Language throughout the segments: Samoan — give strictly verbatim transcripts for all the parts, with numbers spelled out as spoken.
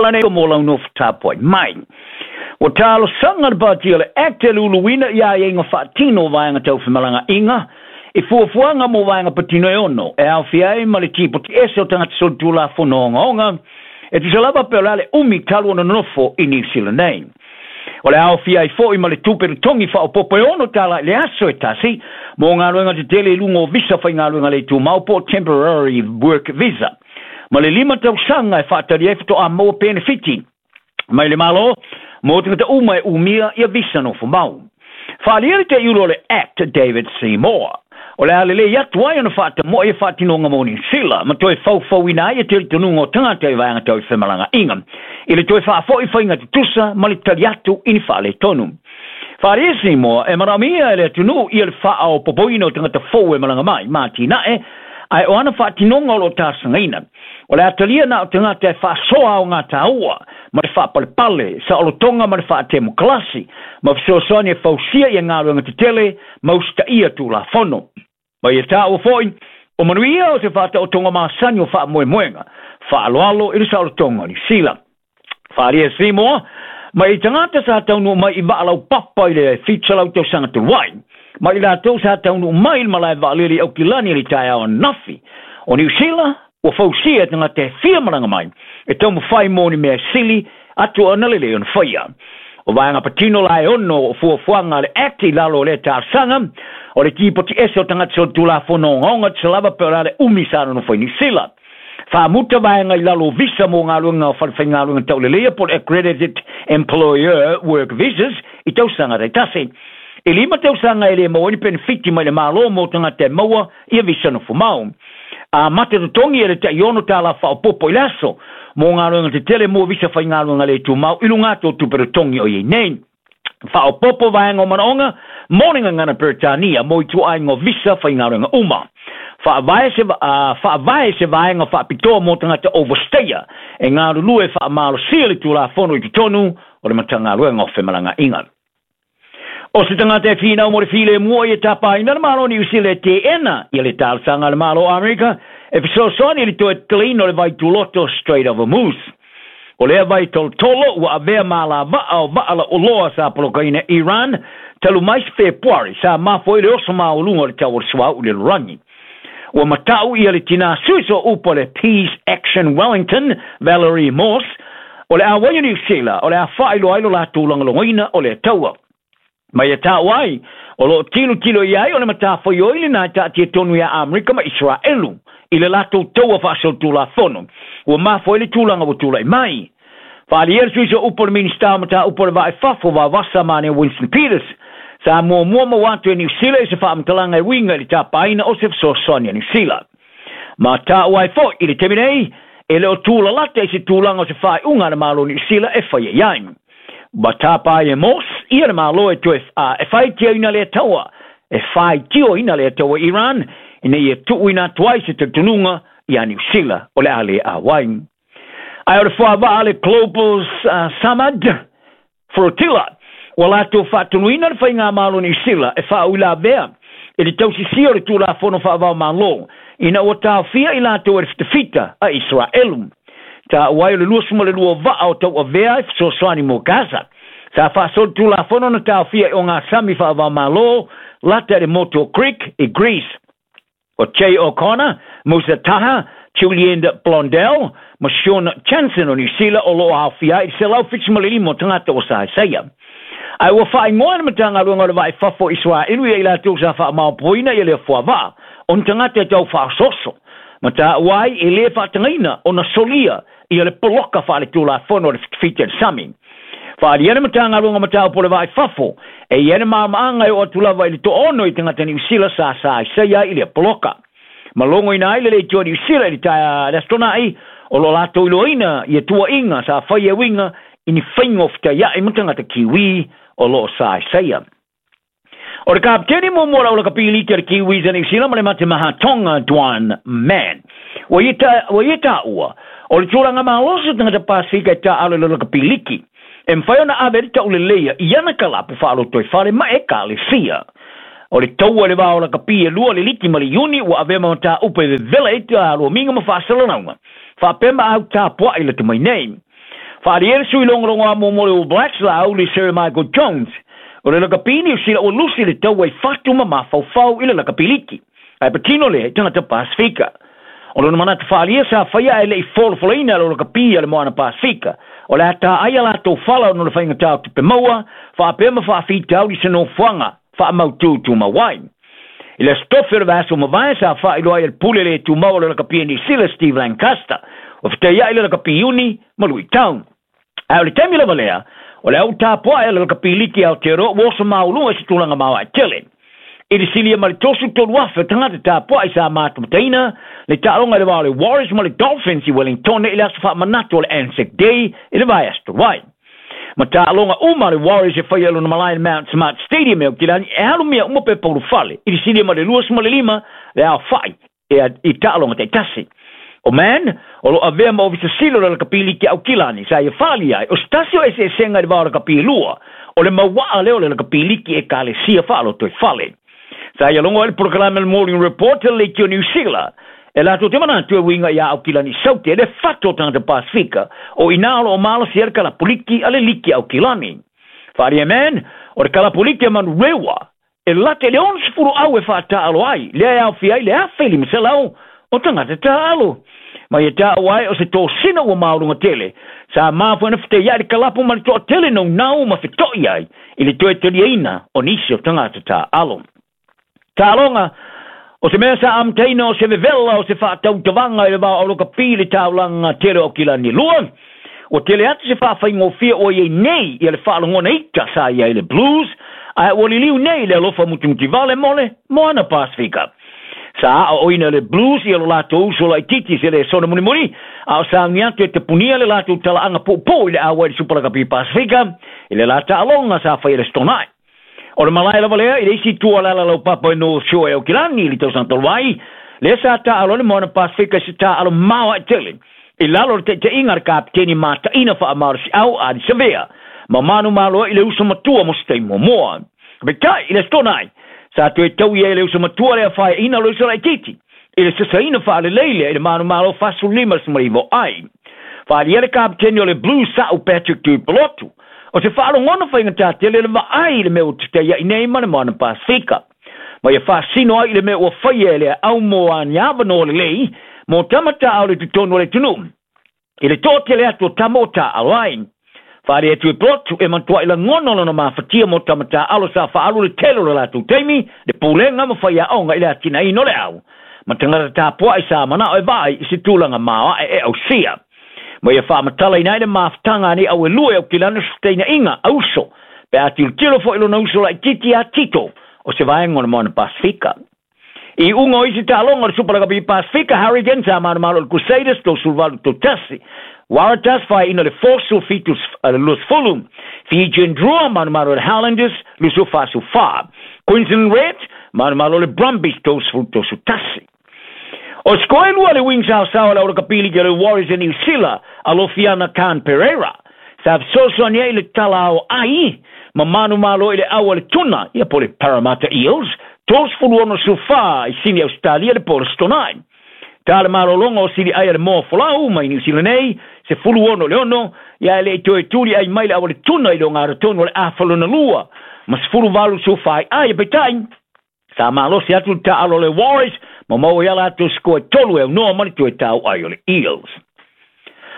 tala nei mo lau nofo tapuai mai. Ua talosaga le patia le Act e luluina ia aiaiga faatino o vaega tau femalagaaiga i fuafuaga mo vaega patino e ono e aofia ai ma le tipoti ese o tagata solitulafono ogaoga e tusa lava pe o le a le umi talu ona nonofo i Niu Sila nei. O le aofia ai foʻi ma le tupe totogi faaopopo e ono tala i le aso e tasi mo galuega tetele i luga o visa faigaluega le tumau po o temporary work visa ma le lima tausaga e faatali ai faatoa maua penefiti mai le Malo mo tagata uma e umia ia visa nofo mau. Faaalia le teiulo o le Act David Seymour. O le a lelei atu ai ona faatamoe e faatinoga mo Niu Sila ma toe faufauina ai e talitonuga o tagata i vaega tau i femalagaaiga i le toe faafoʻi faiga tutusa ma le tali atu i ni faaletonu. Faaalia Seymour e manaomia e le atunuu ia le faaopopoina o tagata fou e malaga mai ma atinae ae o ana faatinoga o loo talosagaina. O le atalia na o tagata e faasoa o gataua ma le faapalepale saolotoga ma le faatemokalasi ma fesoasoani e fausia ia galuega tetele ma usitaia tulafono. Ma ia taua foʻi o manuia o se faataotoga masani o faamoemoega faaaloalo i le saolotoga o Niu Sila. Faaalia Seymour mai tagata sa taunuu mai i vaa laupapa i le fitu selau tausaga talu ai ma i latou sa taunuu mai i le malae vaalele i Aukilani i le taeao ananafi. O Niu Sila ua fausia e tagata e fia malaga mai e taumafai mo ni mea sili atu ona lelei ona faia. O vaega patino la e ono o fuafuaga le Act i lalo o lea talosaga o le tipoti ese o tagata solitulafono ogaoga tusa lava pe o le a le umi sa nonofo i Niu Sila. Faamuta vaega i lalo o visa mo galuega o falefaigaluega tauleleia po o le accredited employer work visas i tausaga taitasi. E lima tausaga e le maua ai ni penefiti mai le Malo mo tagata e maua ia visa nofo mau. Amata totogi e le tai ono tala faaopopo i le aso mo galuega tetele mo visa faigaluega le tumau i luga atu o tupe totogi o iai nei. Faaopopo vaega o manaoga mo le gagana Peretania mo ituaiga o visa faigaluega uma. Faavae se, uh, faavae se vaega faapitoa mo tagata overstayer e galulue faamalosia le tulafono i totonu o le Matagaluega o Femalagaaiga. O se tagata e finau mo le filemu ia tapaina le Malo o Niu Sila e teena ia le talosaga a le Malo o Amerika e fesoasoani i le toe tatalaina o le vai tuloto Strait of Hormuz. O lea vai tolotolo ua avea malavaa o vaa lauoloa sa polokaina Iran talu mai se Fepuari sa mafua ai le oso maualuga o le tau o le suauu i le lalolagi. Ua matau ia le tinā sui sooupu o le Peace Action Wellington, Valerie Morse, o le auai o Niu Sila o le a faailoa ai lo latou lagolagoina o lea taua. Ma ia taua ai, o loo tilotilo i ai o le matafaioi lena e taatia tonu iā Amerika ma Isaraelu i le latou taua faasolitulafono ua mafua ai le tulaga ua tulai mai. Faaalia le sui sooupu o le Minista o Mataupu o le Va i Fafo Vavasa ma Winston Peters sa muamua maua atu e Niu Sila i se faamatalaga e uiga i le tapaina o se fesoasoani a Niu Sila. Ma taua ai foʻi i le taimi nei e le o tulalata i se tulaga o se faaiuga a le Malo o Niu Sila e faia i ai. Ma tapa ai e Morse ia le Malo e toe e faitioina lea taua e faitioina lea taua Iran ina ia tuuina atu ai se talitonuga iā Niu Sila o le a le auai. Ae o le fuavaa le Global uh, Samad Flotilla ua latou faatonuina le faigamalo Niu Sila e faauilavea i le tausisia o le tulafono faavao Malo ina ua taofia i latou e le fitafita a Isaraelu. Taua ai o le luasefulu ma le lua vaa o tauavea e fesoasoani mo Gaza sa faasolitulafono na taofia i ogasami faavaomalo lata i le motu o Greek i Greece. O Jay O'Connor, Musa Taha, Julian Blondell ma Sean Chanson o Niu Sila o loo aofia ai i le selau fitu ma le lima o tagata o saesaia. Ae ua faaigoa le Matagaluega o le Va i Fafo Isaraelu ia i latou sa faamaopoina ia lea fuavaa o ni tagata e tau faaososo ma taua ai e lē faatagaina ona solia ia le poloka faaletulafono o le fitafita i le sami. Faaalia le Matagaluega Mataupu o le Va i Fafo e ia le maamaaga e oo atu lava i le toaono i tagata Niu Sila sa saesaia ai i lea poloka. Ma logoina ai le leitioa Niu Sila i le taea le Aso Tonaʻi o lo latou iloaina ia tuuaiga sa fai e uiga i ni faiga o fetaiaʻi ma tagata Kiwi o loo saesaia. O le kapiteni muamua o le aulakapi liki a le Kiwis a Niu Sila ma le Matemaha Tonga Duan Mann. Ua ia ta, ua ia taua o le tulaga malosi o tagata Pasifika e taaalo i le lakapi liki e mafai ona ave le tauleleia i ana kalapu faalotoifale ma ekalesia. O le taua i le va o lakapi e lua le liki ma le Iuni ua avea ma mataupu e vevela ai lomiga ma faasalalauga faapea ma au tapuaʻi lata mai nei. Faaalia le sui logologo a mo le All Blacks Laauli Sir Michael Jones. O le lakapi Niu Sila ua lusi le taua i fatu ma mafaufau i le lakapi liki. Ae patino lea i tagata Pasifika. O lona manatu faaalia sa faia ae le'i folofolaina le lakapi a le Moana Pasifika. O le a taai a latou fala ona o le faigatā o tupe maua, faapea ma faafitauli se nofoaga faamautū tumau ai. I le aso tofi o le vaiaso mavae sa faailoa ai e le pule le tumau o le lakapi a Niu Sila Steve Lancaster. Ua fetaia'i le lakapi Iuni ma luitau. Ae o le taimi lava lea, o le au tapua'i a le lakapi liki Aotearoa ua oso mauluga i se tulaga maoae tele. I le silia ma le tosu tolu afe o tagata tapua'i sa matamataina le taaloga i le va o le Warriors ma le Dolphins i Wellington i le aso faamanatu o le Anzac Day i le vaiaso talu ai. Ma taaloga uma a le Warriors e faia i lona malae i le Mount Smart Stadium e Aukilani e alumia uma pepa ulufale i le silia ma le luasefulu ma le lima le aofa'i i taaloga taitasi. O Mann, o lo avea ma ofisa sili o le lakapi liki Aukilani sa ia faaalia ai o se tasi o eseesega i le va o lakapi e lua o le mauaa lea o le lakapi liki ekalesia faalotoifale. Sa ia logo ai le polokalame le Morning Report le leitio Niu Sila e latou te manatu e uiga iā Aukilani Saute e le fatu o tagata Pasifika o inā o loo malosi ai le kalapu liki a le liki Aukilani. Faaalia Mann, o le kalapu liki a Manurewa e lata i le onosefulu au e faataalo ai lea e aofia ai le afe i limaselau o tagata taalo. Ma ia taua ai o se tosina ua mauluga tele sa mafua ona fetaia'i le kalapu ma le toatele naunau ma feto'i ai i le toe taliaina o nisi o tagata taalo. Taaloga o se mea sa amataina o se vevela o se faatautavaga i le va o lakapi i le taulaga tele o Aukilani lua. Ua tele atu se faafaigofie ua iai nei ia le faalogona ita sa iai le Blues, ae ua liliu nei le alofa mutimutivale mo le Moana Pasifika. Sa aoaoina e le Blues ia lo latou uso laitiiti se le sona mulimuli, a o sauni atu e tapunia le latou talaaga puupuu i le auai i le Super Lakapi Pasifika i le la taaloga sa faia i le Aso Toonai. O le malae lava lea i le isi itu o le ala laupapa i North Shore e Aukilani i le tausaga talu ai, lea sa taaalo ai le Moana Pasifika i se taaalo maoae tele i lalo o le taitaiga a le kapiteni mataina faamalosiau Ardie Savea ma manumalo ai i le uso matua mo se taimi muamua. Peitai i le Aso Toonai, sa toe taui ai le uso matua lea faeaina o le uso laitiiti i le sasaina faalelei lea i le manumalo fasefululima le sefuluiva ai. Faaalia le kapiteni o le Blues Sa'u Patrick Tuipulotu, o se faalogona faigatā tele le vaai i le mea ua tetaia'i nei ma le Moana Pasifika. Ma ia faasino ai i le mea ua faia e le aau mo ani avanoa lelei mo tama taao i le totonu o le atunuu i le toatele atu o tama o taaalo ai. Faaalia Tuipulotu e matua'i lagona lona mafatia mo tama taaalo sa faaalu le tele o le latou taimi, le pulega ma faiaoga i le atinaeina o le au ma tagata tapua'i sa manao e vaai i se tulaga maoae e ausia. Ma ia faamatalaina ai le mafutaga a nei au e lua e Aukilani o se fetainaiga a uso pe a tilotilo foi i lona uso laitiiti iā Tito o se vaega o le Moana Pasifika. I iuga o isi taaloga o le Super Lakapi Pasifika, Hurricanes sa manumalo i le Crusaders tolusefuluvalu i le tasi. Waratahs faeaina le Force suafitu luasefulu. Fijian Drua manumalo i le Highlanders luasefulu fa. Queensland Reds manumalo i le Brumbies tolusefulu tolusefulu tasi. O sikoa e lua le Wings saosaoa le au lakapi liki a le Warriors e Niu Sila Alofiana Khan Pereira sa fesoasoani ai i le tala ao ai ma manumalo i le au a le tuna ia po o le Parramatta Eels tolusefulu ono sefulufa i Sini Ausetalia le po o le Aso Toonai. Ta le malologa o sili ai a le moa folau mai Niu Sila nei sefulu ono i le ono ia e le'i toe tuli ai mai le au a le tuna i le ogatotonu o le afa lona lua ma sefulu valu sefulufa ai ai peitai sa malosi atu le taaalo a le Warriors ma maua ai a latou sikoa e tolu e aunoa ma le toe tau ai o le Eels.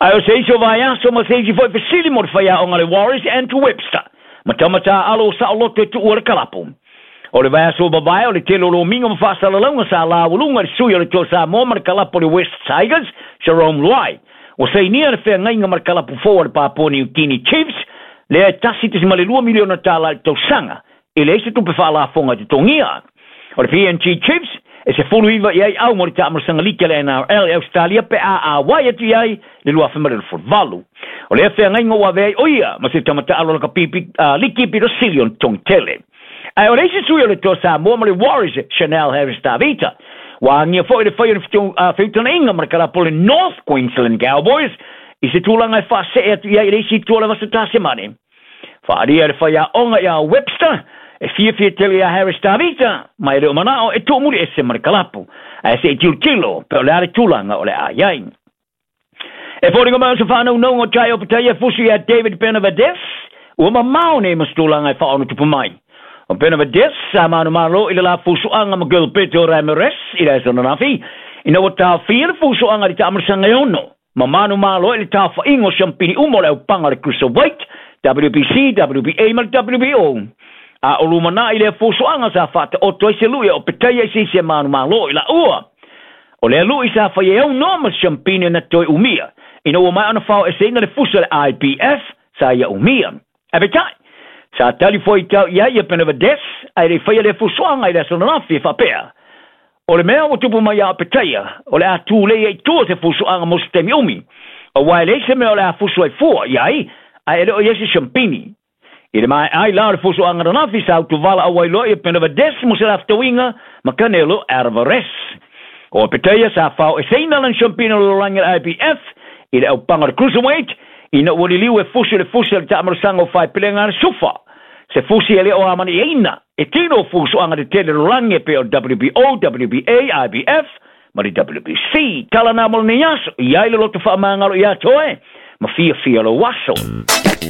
Ae o se isi o vaiaso ma se isi foi fesili mo le faiaoga a le Warriors Andrew Webster ma tama taaalo o saoloto e tuua le kalapu. O le vaiaso ua mavae o le tele o lomiga ma faasalalauga sa laualuga i le sui o le Toa Samoa ma le kalapu o le West Tigers Jarome Luai. Ua sainia le feagaiga ma le kalapu fou a le Papua New Guinea Chiefs lea e tasi koma lua miliona tālā i le tausaga e leai se tupe faalafoga e totogia. O le P N G Chiefs e sefulu iva i ai au mo le taamolosaga liki a le N R L e Australia pe a auai atu i ai le luafe ma le luasefuluvalu. O lea feagaiga ua avea ai o ia ma se tamataalo lakapi uh, liki pito sili ona totogi tele. Ae o le isi sui o le Toa Samoa ma le Warriors Chanel Harris Tavita ua agia foi le fai o le feutagaiga ma le kalapu o le North Queensland Cowboys i se tulaga e faasee atu i ai i le isi itu o le Vasa Tasemane. Faaalia le faiaoga iā Webster e fiafia tele iā Harris Tavita ma e le o manao e tuumuliese ma le kalapu. Ae se'i tilotilo pe o le a le tulaga o le a iai. E foliga mai o se whanau o tai o petaia fusi ia David Benavidez, ua mamao nei ma se tulaga e faaono tupu mai. O Benavidez sa manumalo i le la fusuaga ma Gilberto Ramirez i le aso ananafi, ina ua taofia le fusuaga i le taamalosaga e ono, ma manumalo i le taofaiga o siampini uma o le aupaga o le Cruiserweight, W B C, W B A ma le W B O. A o lumanai lea fusuaga sa faataoto ai se lui o petaia i se isi e manumalo i laua. O lea lui sa fai e aunoa ma siampini na toe umia, ina ua maea ona faoeseina le fusi a le I B F sa ia umia. Ae peitai, sa tali fuaitau i ai ia Benavidez ae le i faia lea fusuaga i le aso ananafi e faapea, o le mea ua tupu mai ia Opetaia, o le a tulei ai i tua se fusuaga mo se taimi umi, auā e leai se mea o le a fusu ai fua i ai, ae e le o i ai se siampini. I le maea ai la o le fusuaga ananafi sa utuvala auai loa ia Benavidez mo se lafetauiga ma Canelo Alvarez. O Opetaia sa faoeseina lana siampini o le lalolagi a le I B F i le aupaga o le Cruiserweight ina ua liliu e fusi le fusi a le taamalosaga o faepelega a le Sufa. Se fusi e le o amaniaina e tino fusuaga tetele lalolagi e pei o W B O, W B A, I B F ma le W B C. Tala na mo lenei aso, i ai le loto faamagalo ia toe, ma fiafia lou aso.